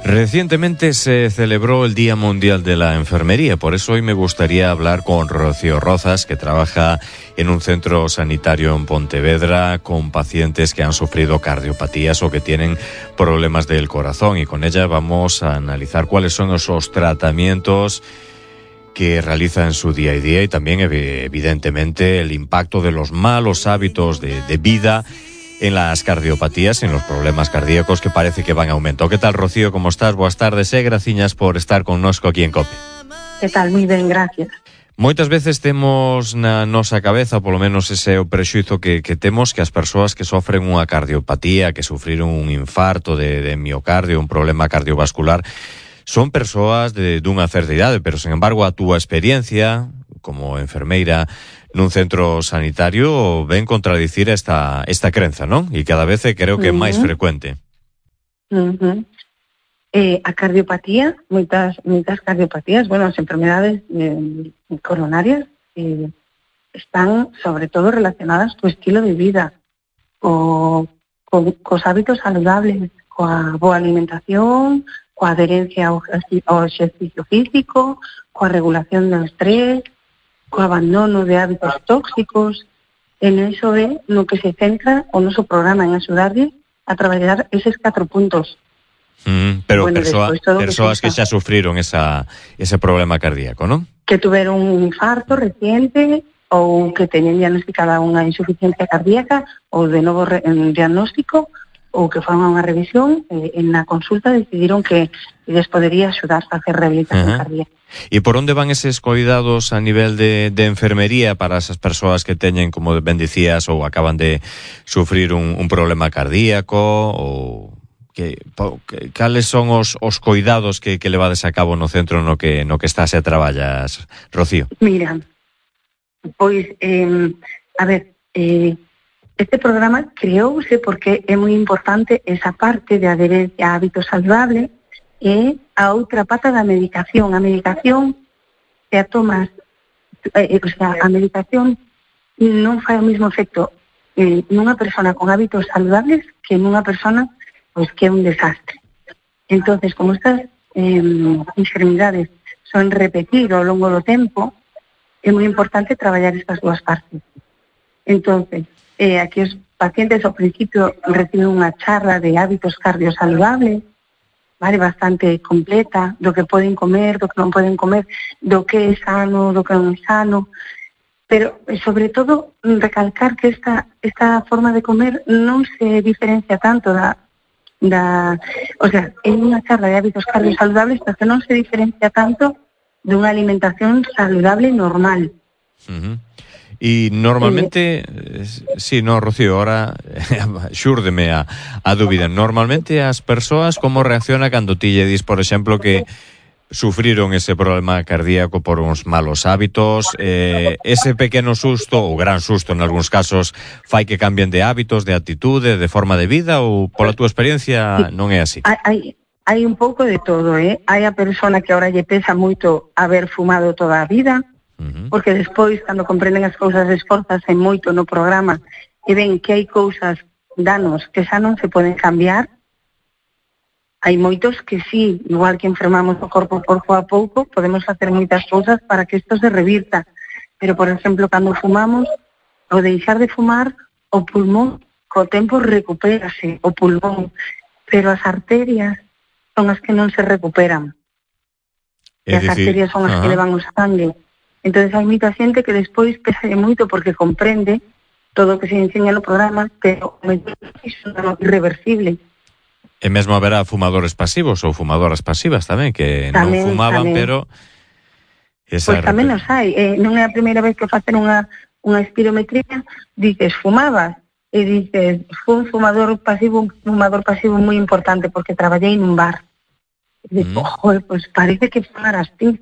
Recientemente se celebró el Día Mundial de la Enfermería, por eso hoy me gustaría hablar con Rocío Rozas, que trabaja en un centro sanitario en Pontevedra con pacientes que han sufrido cardiopatías o que tienen problemas del corazón, y con ella vamos a analizar cuáles son esos tratamientos que realiza en su día a día y también, evidentemente, el impacto de los malos hábitos de vida en las cardiopatías, en los problemas cardíacos que parece que van a aumento. ¿Qué tal, Rocío? ¿Cómo estás? Boas tardes e graciñas por estar connosco aquí en COPE. Que tal? Moi ben, gracias. Moitas veces temos na nosa cabeza, polo menos ese é o prexuizo que temos, que as persoas que sofren unha cardiopatía, que sufriron un infarto de miocardio, un problema cardiovascular, son persoas dunha certa idade, pero, sen embargo, a túa experiencia como enfermeira nun centro sanitario ven contradicir esta crenza, non? E cada vez creo que é máis frecuente. A cardiopatía, moitas cardiopatías, as enfermedades coronarias están sobre todo relacionadas co estilo de vida, cos hábitos saludables, coa boa alimentación, coa adherencia ao exercicio físico, coa regulación do estrés, co abandono de hábitos tóxicos. En eso é no que se centra o noso programa, en axudarlle a traballar eses 4 puntos. Pero persoas que xa sufriron ese problema cardíaco, non? Que tuveron un infarto reciente ou que teñen diagnosticada unha insuficiencia cardíaca ou de novo diagnóstico, ou que foron a unha revisión en na consulta decidiron que les podería axudar a hacer rehabilitación cardíaca. E por onde van eses cuidados a nivel de enfermería para esas persoas que teñen, como ben dicías, ou acaban de sufrir un problema cardíaco, ou cales son os cuidados que levades a cabo no centro no que estás e traballas, Rocío? Mira, pois, este programa creouse porque é moi importante esa parte de adherencia a hábitos saludables e a outra pata da medicación. A medicación, se a tomas, a medicación non fai o mesmo efecto nunha persona con hábitos saludables que nunha persona pois que é un desastre. Entonces, como estas enfermidades son repetir ao longo do tempo, é moi importante traballar estas dúas partes. Entonces, aquí os pacientes ao principio reciben unha charla de hábitos cardiosaludables, vale, bastante completa, do que poden comer, do que non poden comer, do que é sano, do que non é sano, pero sobre todo recalcar que esta forma de comer non se diferencia tanto o sea, é unha charla de hábitos cardiosaludables, pero que non se diferencia tanto dunha alimentación saludable normal. E normalmente, Rocío, ahora xúrdeme a dúbida, normalmente as persoas como reacciona cando ti lle dis, por exemplo, que sufriron ese problema cardíaco por uns malos hábitos, ese pequeno susto, ou gran susto en algúns casos, fai que cambien de hábitos, de actitude, de forma de vida, ou pola túa experiencia non é así? Hai un pouco de todo, hai a persona que ahora lle pesa moito haber fumado toda a vida, porque despois, cando comprenden as cousas, esforzase moito no programa e ven que hai cousas, danos, que xa non se poden cambiar. Hai moitos que sí, igual que enfermamos o corpo pouco a pouco, podemos facer moitas cousas para que isto se revirta. Pero, por exemplo, cando fumamos, ao deixar de fumar, o pulmón, co tempo recupérase o pulmón, pero as arterias son as que non se recuperan. E as arterias son as que levan o sangue. Entonces hai moita xente que despois pesa moito porque comprende todo o que se enseña no programa, pero iso non é irreversible. E mesmo haberá fumadores pasivos ou fumadoras pasivas tamén, que non fumaban, pero... Pois tamén os hai. Non é a primeira vez que facen unha espirometría, dices, fumabas? E dices, fui un fumador pasivo moi importante porque traballei nun bar. E dices, pois parece que fumaras ti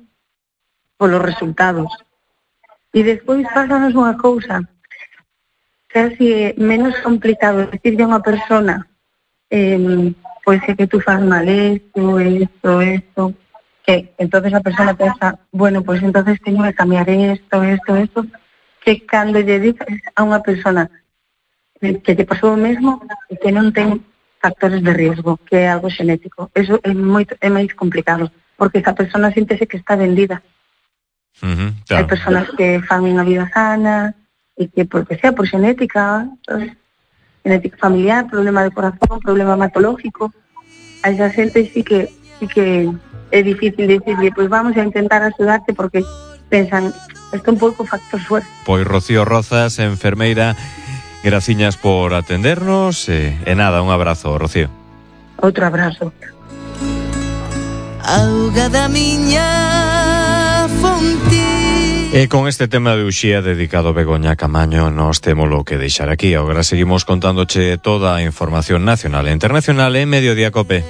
polos resultados. E despois pásanos unha cousa, casi menos complicado decirle a unha persona pois é que tú faz mal esto, que entonces a persona pensa, bueno, pois entonces teño que cambiar esto, que cando lle dices a unha persona que te pasou o mesmo e que non ten factores de riesgo, que é algo xenético. Eso é máis complicado, porque esa persona síntese que está vendida. Claro. Hai personas que fan unha vida sana e que, porque sea por xenética, genética familiar, problema de corazón, problema hematológico, a esa xente sí que é difícil decirle, pois vamos a intentar axudarte, porque pensan, isto é un pouco factor suerte. Pois Rocío Rozas, enfermeira, graciñas por atendernos e nada, un abrazo, Rocío. Outro abrazo. Auga da miña fonte. E con este tema de Uxía dedicado a Begoña Camaño nos témolo que deixar aquí. Agora seguimos contándoche toda a información nacional e internacional en Mediodía Cope.